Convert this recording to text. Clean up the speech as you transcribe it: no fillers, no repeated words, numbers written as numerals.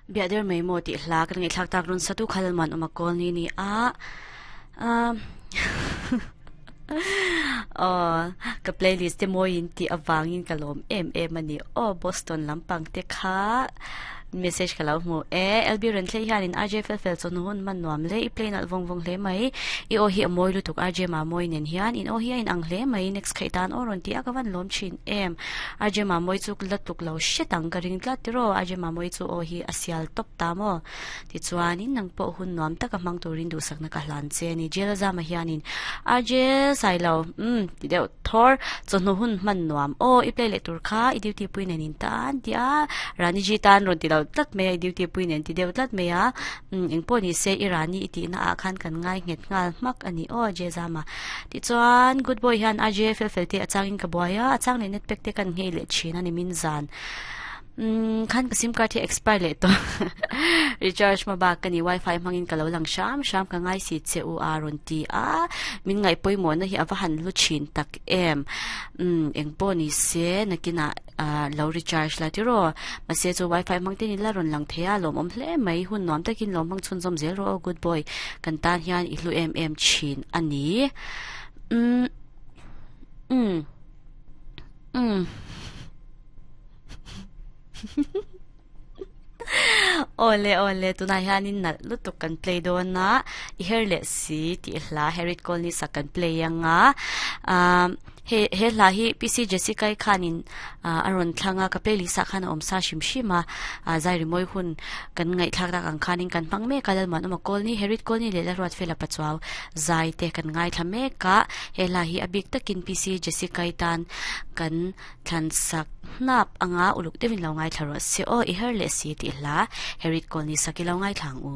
Biah der mai maw tih hla kan ngaihthlak tak rawn satu kha Lalman awm a kawl ni ni a. Aw ka playlist te mawiin tih avangin ka lawm em em a ni. Aw Boston lampang te kha message ka lo hmu e. LB Renthlei hianin RJ fel fel chawhnu hun hman nuam hle i play nalh vawng vawng hle mai. I aw hi a mawi lutuk RJ Mamawi nen hian in aw hi a inang hle mai next khaih tan aw rawn ti a ka van lawm thin em. RJ Mamawi chu la tluk lo hret ang ka ring tlat tiraw RJ Mamawi chu aw hi a sial tawp ta maw. Tichuanin nang pawh hun nuam taka hmang turin duhsakna ka hlan che a ni. Jail a zama hianin RJ Sailo umm ti deuh thawr chawhnu hun hman nuam aw i play leh tur kha i duty pui nen in tan ti a Rani ji tan rawn ti lo tlat mai a i duty pui nen ti deuh tlat mai a umm engpawh ni se i Rani i tihna ah khan kan ngai nghet nghal hmak a ni aw J Zama. Tichuan good boy hian RJ fel fel te a changin ka buai a a chang leh net pack te kan nghei leh thin a ni min zan. Umm khan ka sim card hi expire leh tawh recharge hma bak ka ni wifi hmangin ka lo lang hram hram ka ngai si che u a rawn ti a min ngaih pawimawhna hi a va han hlu thin tak em umm eng pawh ni se nakinah ah lo recharge la tiraw mahse chu wifi hmang te ni la rawn lang thei a lawmawm hle mai hun nuam takin lo hmang chhunzawm zel rawh aw good boy kan tan hian i hlu em em thin a ni umm umm umm. Awle awle tunah hianin nalh lutuk kan play dawn a i her leh si tih hla Harriet Colney sak kan play anga ah he he hla hi PC Jessica i khanin ah a rawn thlang a ka playlist ah khan a awm sa hrim hrim a ah zai rimawi hun kan ngaihthlak tak ang khanin kan hmang mek a Lalmuanawma Colney Harriet Colney leh Lalruatfela Pachuau zai te kan ngaithla mek a he hla hi a bik takin PC Jessica i tan kan Thlan sak hnap anga uluk deuhin lo ngaithla rawh se aw, i her leh si tih hla Herit Kawlni sak i lo ngaithla ang u.